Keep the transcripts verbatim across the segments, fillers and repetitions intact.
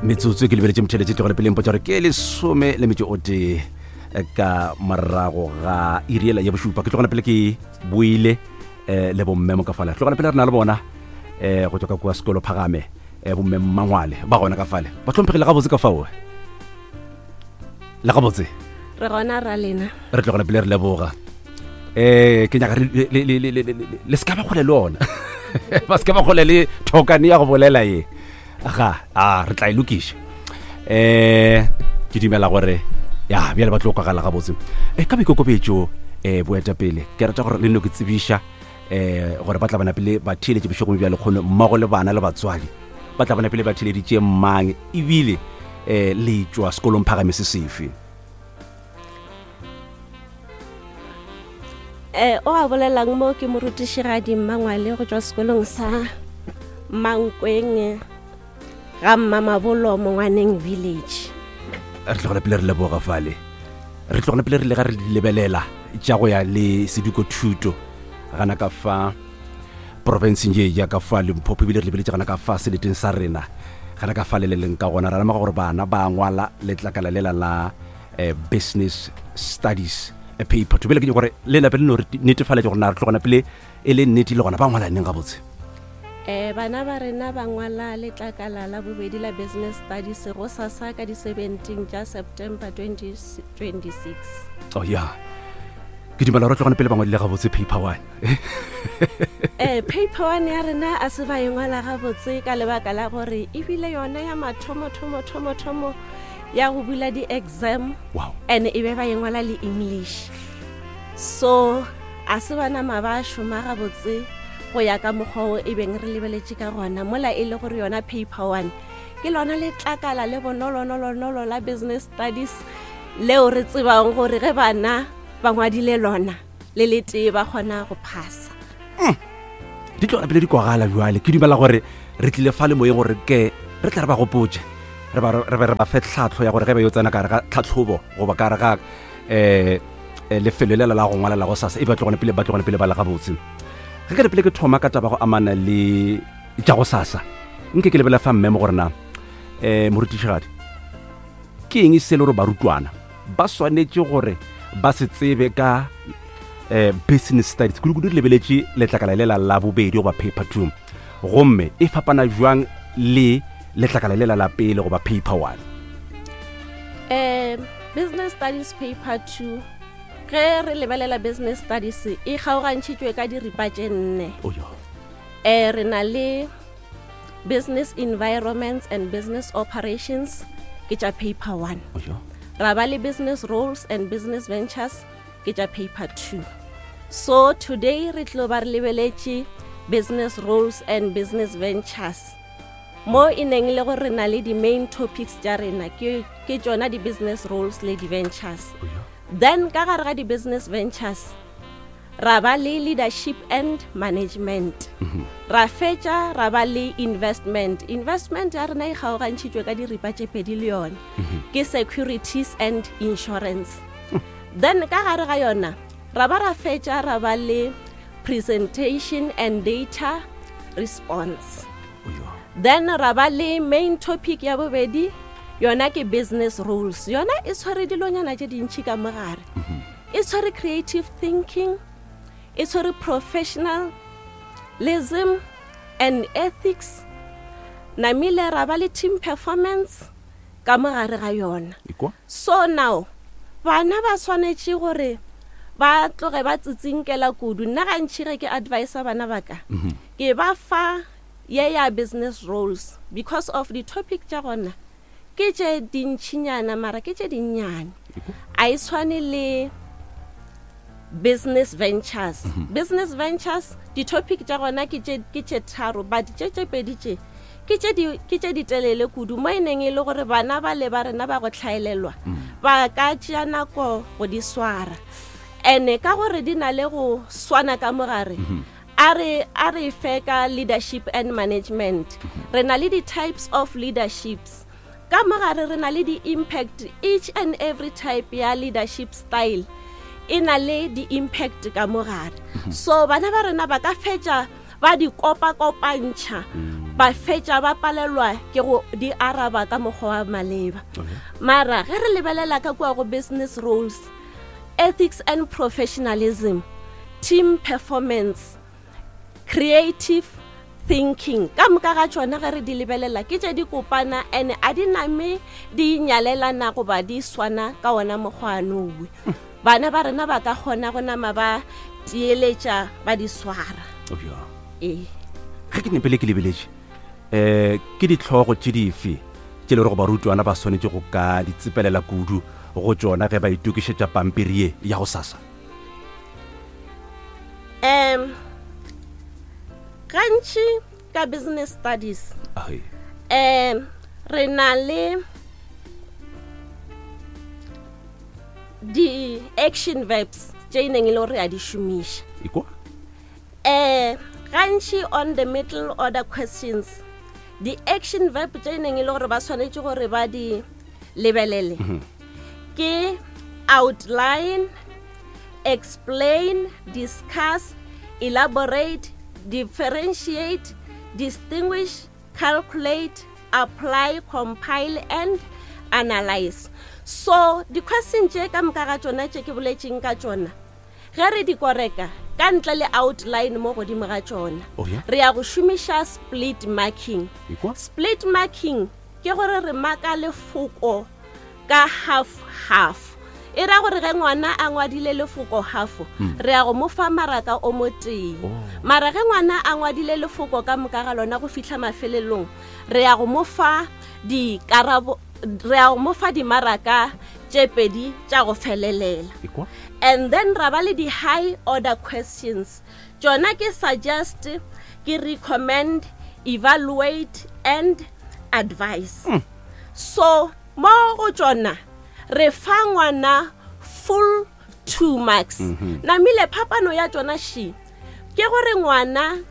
Metsotso ke lebeletše motheletše tlogele pele mpotša gore ke lesome le metšo o tee ka morago ga iri ela ya bošupa. Ke tlogela pele ke boile um le bomme mo ka fale. Tlogela pele re na le bona um go tswa ka kua sekolo phagame, um bomme Mmangwale ba gona ka fale. Ba hlomphegile gabotse ka fao le gabotse? Re gona ra lena. Re tlogela pele re leboga. um ke nyaka re- le- le- le- le- le le se ka ba kgole le ona, ba se ka ba kgole le thokane ya go bolela ye ga a re tla e lokiša. um ke dumela gore ya bjale ba tlo kwagala gabotse. um ka boikokobetšo, um boetapele, ke rata gore le nno ke tsebiša um gore ba tla bona pele ba theeletše bošegong bja lekgono mmogo le bana le batswadi ba tla bona pele ba theeleditše mang, ebile um le tšwa sekolong phagame se sefe? um o a bolelang mo ke morutišigadi Mmangwale go tšwa sekolong sa Mankweng ga Mmamabolo, Mongwaneng village. Re tlogela pele re leboga fale. Re tlogela pele re le ga re di lebelela tša go ya le seduko thuto gana ka fa porofenseng ye ya ka fa Limpopo, ebile re lebeletše gana ka fa seleteng sa rena gana ka fa le le leng ka gona. Ra lemoga gore bana ba ngwala letlakala lela la eh, business studies eh, paper two. Bjale ke nyaka gore le nape le no re netefaletše gore na re tlogona pele e le nnete le gona ba ngwala neng gabotse. um bana ba rena ba ngwala letlakala la bobedi la business studies go sasa ka di-seventeen tša September twenty twenty-six. Oh ya, ke dumela gore tlogone pele ba ngwadile gabotse paper one. um paper one ya rena a se ba e ngwala gabotse ka lebaka la gore ebile yona ya mathomo thomo thomo thomo ya go bula di-exam wow and e be ba e ngwala le English, so a se ba nama ba šoma gabotse go ya ka mokgwa o e beng re lebeletše ka gona mola e le gore yona paper one ke lona letlakala le bonolonolonolo la business studies leo re tsebang gore ge bana ba ngwadile lona le le tee ba kgona go phasa. Di tloga pele di kwagala. Jwale ke dumela gore re tlile fa le moyeng gore ke re tla re ba gopotse, re ba re be re ba fe tlhatlho ya gore ge ba yo tsena ka re ga tlhatlhobo goba ka re ga um lefelo lela la go ngwalela go sasa e ba tlogone pele ba tlogone pele ba le gabotse. Ge ke re pele ke thoma ka taba go amana le tša go sasa, nke ke lebela fa mme mo gore na um morutišigadi, ke eng se le gore barutwana ba swanetše gore ba se tsebe ka eh, business studies, kudu-kudu re lebeletše letlakala lela la bobedi goba paper two, gomme e fapana jwang le letlakala lela la pele goba paper one? um business studies paper two, ge re lebelela business studies e kgaogantšhitšwe ka diripa tše nne. Oyo. um re na le business environments and business operations, ke tša paper one. Oyo. Ra ba le business roles and business ventures, ke tša paper two. So today re tlo ba re lebeletše business roles and business ventures, mo e neng le gore re na le di-main topics tša rena ke ke tšona di-business roles le di-ventures. Oyo. Then ka gare ga di-business ventures ra ba le leadership and management, ra fetša ra ba le investment. Investment ya rena e kgaogantšhitšwe ka diripa tše pedi le yona, ke securities and insurance. Then ka gare ga yona ra ba ra fetša ra ba le presentation and data response. Oyo. Then ra ba le main topic ya bobedi, yona ke business rules. Yona e tshwere dilonyana tše dintšhi ka mogare, e tshwere creative thinking, e tshwere professionalism and ethics, namile ra ba le team performance ka mogare ga yona. Ikwa. So now bana ba swanetše gore ba tloge ba tsitsinkela kudu. Nna gantši ge ke advisa bana ba ka, ke ba fa ye ya business roles because of the topic tša gona ke tše dintšhinyana mara ke tše dinnyane, a e tshwane le business ventures. Business ventures di-topic tša gona ke tše ke tše tharo, but tše tše pedi tše ke tše di- ke tše ditelele kudu mo e neng e le gore bana ba le ba rena ba go tlhaelelwa ba ka tšea nako go di swara, and ka gore di na le go swana ka mogare. A re a re fe ka leadership and management, re na le di-types of leaderships ka mogare, re na le di-impact. Each and every type ya leadership style e na le di-impact ka mogare, so bana ba rena ba ka fetša ba di kopa-kopantšha. Ba fetša ba palelwa ke go di araba ka mokgwa wa maleba. Okay. Mara ge re lebelela ka kua go business roles, ethics and professionalism, team performance, creative thinking, ka moka ga tšona ge re di lebelela ke tše di kopana and a di name di nyalelana goba di swana ka ona mokgwa anowe. Bana ba rena ba ka kgona go nama ba tieteletša ba di swara. Oh, yeah. Ee. Ge ke nepele ke lebeletše, um ke ditlhogo tše dife tše le gore barutwana ba swanetše go ka di tsepelela kudu go tšona ge ba itokišetša pampiri ye ya go sasa? um Gantši ka business studies, Ai. um re na le di-action verbs tše e neng e le gore re a di šomiša. Ekwa. um Gantši on the middle order questions, di-action verb tše e neng e le gore ba swanetše gore ba di lebelele ke outline, explain, discuss, elaborate, differentiate, distinguish, calculate, apply, compile and analyze. So di-question tše ka moka ga tšona tše ke boletšeng ka tšona, ge re di koreka ka ntle le outline mo godimo ga tšona, Oh, yeah? re ya go šomiša split marking. Ekwa. Split marking ke gore re maka lefoko ka half half. E ra gore ge ngwana a ngwadile lefoko half, re ya go mo fa maraka o mo tee. Oh. Mara ge ngwana a ngwadile lefoko ka moka ga lona go fihla mafelelong, re ya go mo fa dikarabo, re ya go mo fa dimaraka tše pedi tša go felelela. Ekwa. And then ra ba le di-high order questions. Tšona ke suggest, ke recommend, evaluate and advise. So mo go tšona re fa ngwana full two marks. Namile phapano ya tšona she ke gore ngwana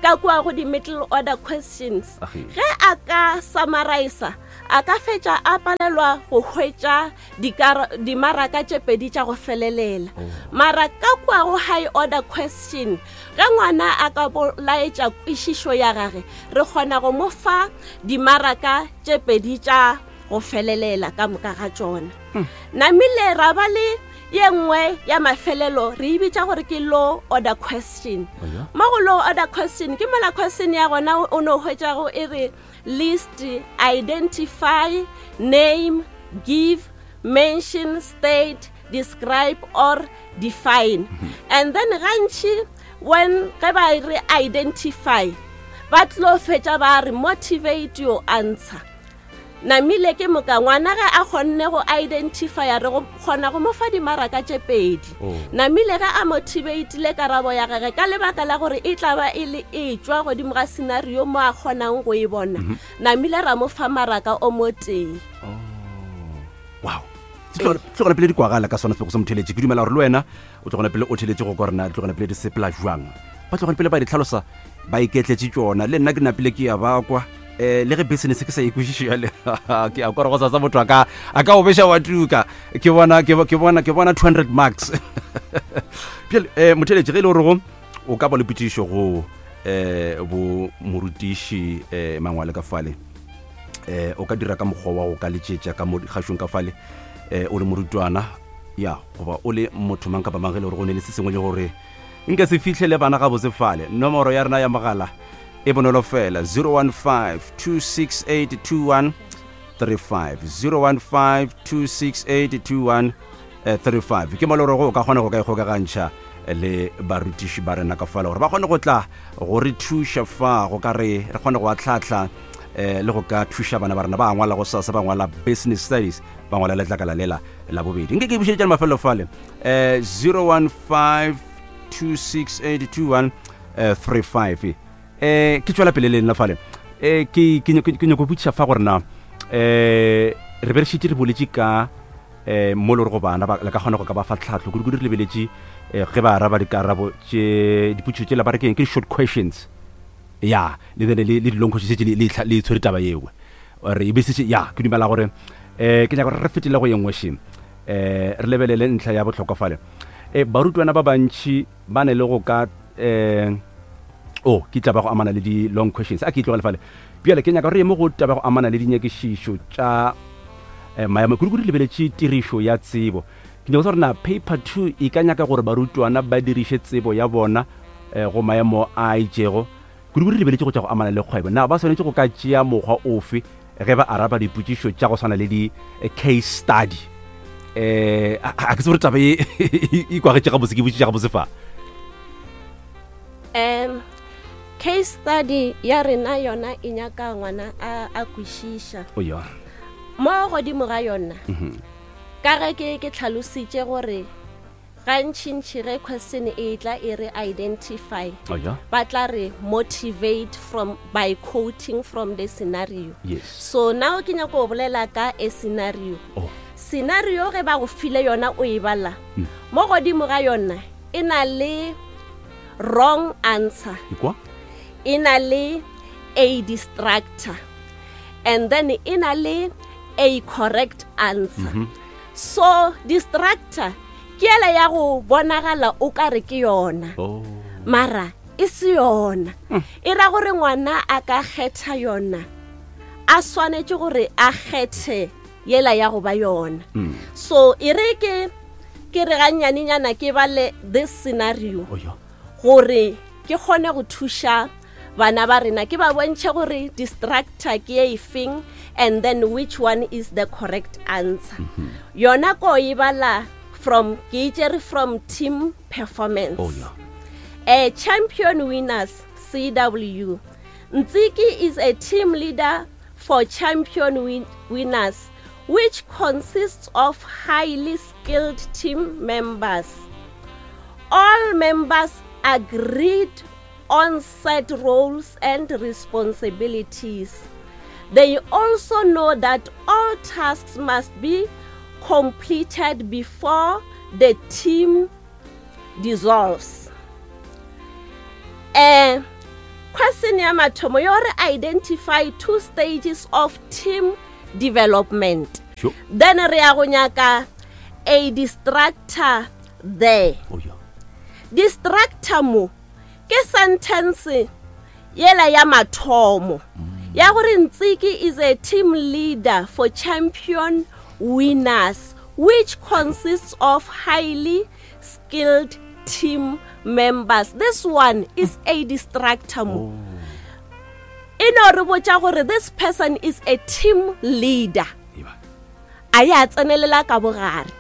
ka kua go di-middle order questions, Age. ge a ka summariser, a ka fetša a palelwa go hwetša dikara-, dimaraka tše pedi tša go felelela. Mara ka kua go high order question, ge ngwana a ka bolaetša kwešišo ya gage, re kgona go mo fa dimaraka tše pedi tša go felelela ka moka ga tšona. Namile ra ba le ye nngwe ya mafelelo, re e bitša gore ke low order question. Oh, yeah? Mo go low order question ke mola question ya gona o no hwetšago e re list, identify, name, give, mention, state, describe or define. And then gantši when ge ba re identify, ba tlo fetša ba re motivate your answer. Namile ke moka ngwana ge a kgonne go identify, re go kgona go mo fa dimaraka tše pedi. Oh. Namile ge a motivatile karabo ya gagwe ka lebaka la gore e tla ba e le e tšwa godimo ga scenario mo a kgonang go e bona, namile ra mo fa maraka o mo tee. Oh. Wow. Tlogela pele di kwagala ka sona seboko sa motheletše. Ke dumela gore le wena o tlogela pele o theletše go kwa rena, tlogela pele di sepela jwang. Ba tlogela pele ba di tlhalosa, ba iketletše tšona. Le nna ke napile ke ya ba kwa. Eh, le ge business ke sa e kwešiše jwale, ke a kwa gore go sasa motho a ka, a ka o beša wa tuka. Ke bona, ke bo-, ke bona, ke bona two hundred marks. Bjale, eh, motheletši, ge e le gore go, o ka ba le potšišo go, eh, bo morutiši, eh, Mangwale ka fale, eh, o ka dira ka mokgwa wa go ka letšetša ka mo dikgašong ka fale, eh, o le morutwana, ya, goba o le motho mang kapa mang ge e le gore go ne le se sengwe le gore nka se fihlele bana gabotse fale. Nomoro ya rena ya mogala e bonolo fela, zero one five two six eight two one three five, zero one five two six eight two one, eh, three five. Ke mo le gore o ka kgona go ka ikgokagantšha le barutiši ba rena ka fale gore ba kgone go tla go re thuša fa, go ka re re kgone go ahlahla, eh, le go ka thuša bana ba rena ba ngwala go sasa, ba ngwala business studies, ba ngwala letlakala lela la bobedi. Nke ke bušeletša le mafelelo fale, eh, zero one five two six eight two one, eh, three five. Eh, ke tšwela pele le nna fale. Eh, ke, ke nyako, ke nyako botšiša fa gore na, eh, re be re šetše re boletše ka, eh, mo le gore go bana ba, le ka kgona go ka ba fa tlhahlo, kudu-kudu re lebeletše, eh, ge ba araba dikarabo tše, dipotšišo tšela ba re ke eng, ke di-short questions. Ya, le bene le, le di-long questions tše le, le, le tshwere taba yeo. Re e besitše, ya, ke dumela gore, eh, ke nyaka gore re fetele go ye nngwe še. Eh, re lebelele ntlha ya bohlokwa fale. Eh, barutwana ba bantši ba ne le go ka, eh, O ke taba go amana le di-long questions. A ke itlogele fale. Bjale ke nyaka gore ye mo go taba go amana le dinyakišišo tša eh, maemo, kudu-kudu lebeletše tirišo ya tsebo. Ke nyaka gore na paper two e ka nyaka gore barutwana ba diriše tsebo ya bona eh, go maemo a itšego, kudu-kudu lebeletše go tša go amana le kgwebo. Na ba swanetše go ka tšea mokgwa ofe ge ba araba dipotšišo tša go swana le di-case study? eh a ke se gore taba e e kwagetše gabotse, ke botšiša gabotse fa? um case study ya rena yona e nyaka ngwana a a kwešiša. O ya. Mo godimo ga yona, ka ge ke ke tlhalositše gore gantšintši ge question e tla e re identify, o ya ba tla re motivate from by quoting from the scenario. Yes so now ke nyako go bolela ka a scenario. Oh scenario ge ba go file yona, o e bala, mo godimo ga yona e na le wrong answer, Ikwa. e na le a distractor, and then e na le a correct answer. mm -hmm. So distractor ke ele ya go bonagala o ka re ke yona, Oh mara e se yona. E ra gore ngwana a ka kgetha yona, a swanetše gore a kgethe yela ya go ba yona. Mm. So e re ke ke re gannyanenyana ke bale this scenario O ya. gore ke kgone go thuša bana ba rena, ke ba bontšhe gore distractor ke e feng and then which one is the correct answer. Yona ko e bala from, ke itšere from team performance. Oh ya. A Champion Winners, C W. Ntsiki is a team leader for Champion win- Winners, which consists of highly skilled team members. All members agreed on set roles and responsibilities. They also know that all tasks must be completed before the team dissolves. Uh, question ya mathomo yo re identify two stages of team development. Sure. Then re ya go nyaka a distractor there. O ya. Distractor mo ke sentence yela ya mathomo ya gore Ntsiki is a team leader for Champion Winners, which consists of highly skilled team members. This one is a distractor mo. E no re botša gore this person is a team leader. Eba. A ya tsenelela ka bogare.